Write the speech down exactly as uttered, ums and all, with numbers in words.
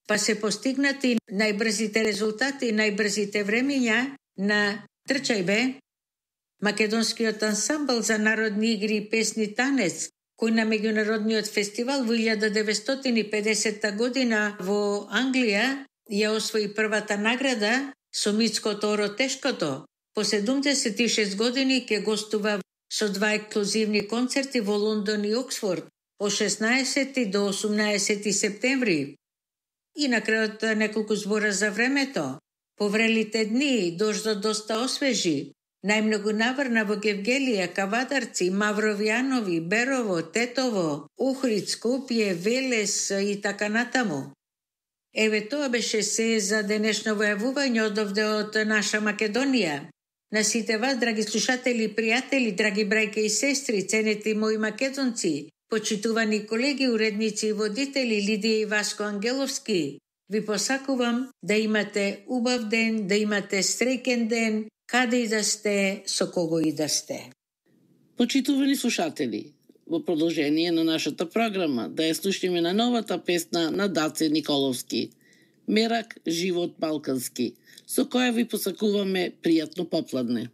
па се постигнати најбрзите резултати, најбрзите времења на трчајбе. Македонскиот ансамбл за народни игри и песни танец, кој на меѓународниот фестивал во илјада деветстотини и педесета година во Англија ја освои првата награда со Мицкото оро тешкото, по седумдесет и шест години ќе гостува со два ексклузивни концерти во Лондон и Оксфорд од шеснаесети до осумнаесети септември. И на крајот неколку збора за времето. Поврелите дни дождот доста освежи. Најмногу наврна во Гевгелија, Кавадарци, Мавровјанови, Берово, Тетово, Охрид, Скопје, Велес и така натаму. Еве тоа беше се за денешно војавување од овде од наша Македонија. На сите вас, драги слушатели, пријатели, драги брајке и сестри, ценети мои македонци, почитувани колеги, уредници и водители Лидија и Васко Ангеловски, ви посакувам да имате убав ден, да имате среќен ден, каде и да сте, со кого и да сте. Почитувани слушатели, во продолжение на нашата програма да ја слушнеме на новата песна на Даце Николовски, Мерак, живот балкански, со која ви посакуваме пријатно попладне.